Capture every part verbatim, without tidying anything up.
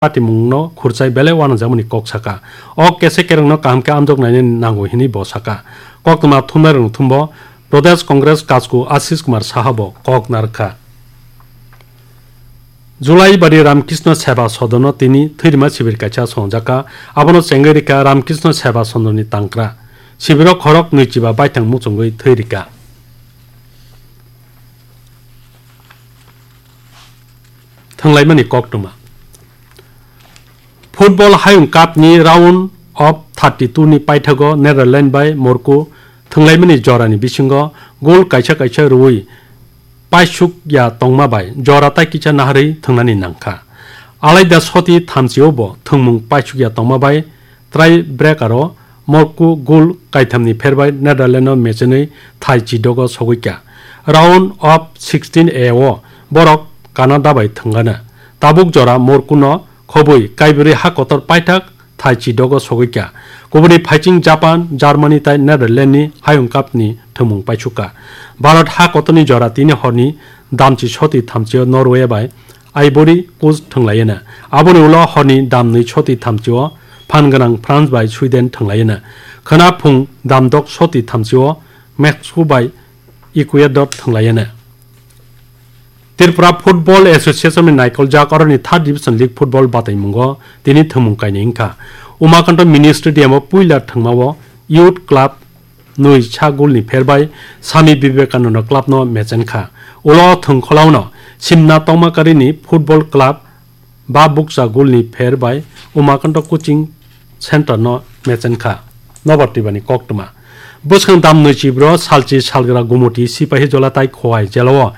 patimungno khurchai belai uanajagmani kok saka. O kese kerengno kaham khe amjok nainani nango hinwi bo saka. Koktwma thumnairokno thumbo Pradesh Congress Kachku Ashish Kumar Saha bo kok narwkha. July bari Ramkrishna Seva Sadanno tini thwirima sibir kaisa songjakha, abono chengwi rikha Ramkrishna Seva Sadanni tangkra. Sibiro khorok nwichiba baithang muchungwi thwi rikha. Thwnglaimani koktwma. Football Hayung Cup ni round of thirty-two ni paithago Netherlands bai Morocco thwnglaimani jorani bisingo goal kaisa kaisa rwui paisuk ya tongma bai jora tai kisa naharwi thwngnani nangkha. Alaida soti thamchio bo thwngmung paisuk ya tongma bai try breaker o Morocco goal kaithamni pherbai Netherlands no mechenwi thai chidogo sogwikha. Round of sixteen A o borok Canada bai thwngana. Tabuk jora Morocco no khobwi kaibrwi ha kotor paithak thai chidogo sogwikha. Kubuni phaiching Japan, Germany tai Netherlands ni Hayung Cup ni thwngmung paisukha. Bharat ha kotorni jora tini horni damchi soti thamchio Norway bai Ivory Coast thwnglaiyana. Aboni ulo horni damnwi soti thamchio phan gwnang France bai Sweden thwnglaiyana. Khwna phung damdok soti thamchio Mexico bai Ecuador thwnglaiyana. Tripura Football Association ni naikoljak oroni third division league football bataimungo tini thwngmung kainwi wngkha. Umakanto Mini Stadium o puila thwngmao Youth Club nwi sa goal ni pherbai Swami Vivekananda Club no mechenkha. Ulo thwngkholao no Simna Tongmakarini Football Club ba bukcha goal ni pherbai Umakanto Coaching Center no mechenkha. Nobar Twibani koktwma. Bwskang dam nwi chibro salchi salgra Gumoti Sipahi Jola tai Khowai jelao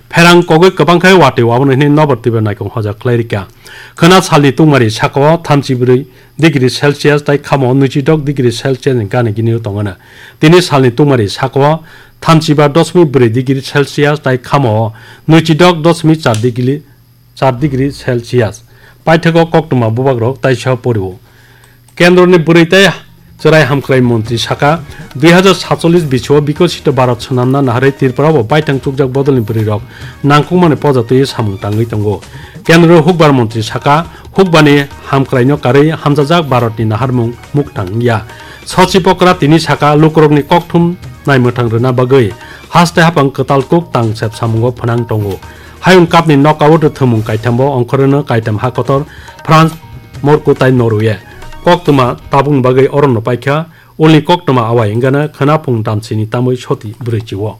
pherang kogwi kwbang khe watwi waboni hwnwi Nobar Twiba naikong hoja khlai rikha. Khwna salni tungmari sakao thamchi brwi degree Celsius tai khamo nwichidok degree Celsius ni gana gini tongo na. Tini salni tungmari sakao thamchiba dosmik brwi degree Celsius tai khamo nwichidok dosmik char degree, char degree Celsius. Paithago koktwma bubagrok taisa porio. Kendroni bwrwi tai chwrai hamkrai montri saka, dui hazar satchollish bisio Bikosito Bharat swnamna naharwi Tripura o baithang chukjak bodolni bwrwirok nangkukmani poja twiwi samung tangwi tongo. Kendro hukbar montri saka, hukbani hamkraino karwi hamjajak Bharatni naharmung muktang wngya. Sochi Pokra tini saka, lukurokni kokthum naimwthang rwna bagwi haste haphang kwtal kuk tangsep samungo phwnang tongo. Hayung Cup ni knockout thwngmung kaithambo ongkhoreno kaitam ha kotor France, Morocco tai Norway. Koktwma tabukni bagwi orono paikha, ulni koktwma awai wngana khwna phung damsini tamwi soti brwi chio.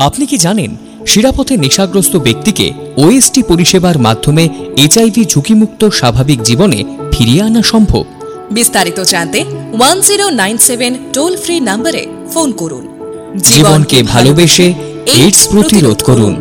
আপনি কি জানেন, শিরাপথে নেশাগ্রস্ত ব্যক্তিকে ওএসটি পরিষেবার মাধ্যমে এইচআইভি ঝুঁকিমুক্ত স্বাভাবিক জীবনে ফিরিয়ে আনা সম্ভব? বিস্তারিত জানতে one zero nine seven toll free নম্বরে ফোন করুন। জীবনকে ভালোবেসে এইডস প্রতিরোধ করুন।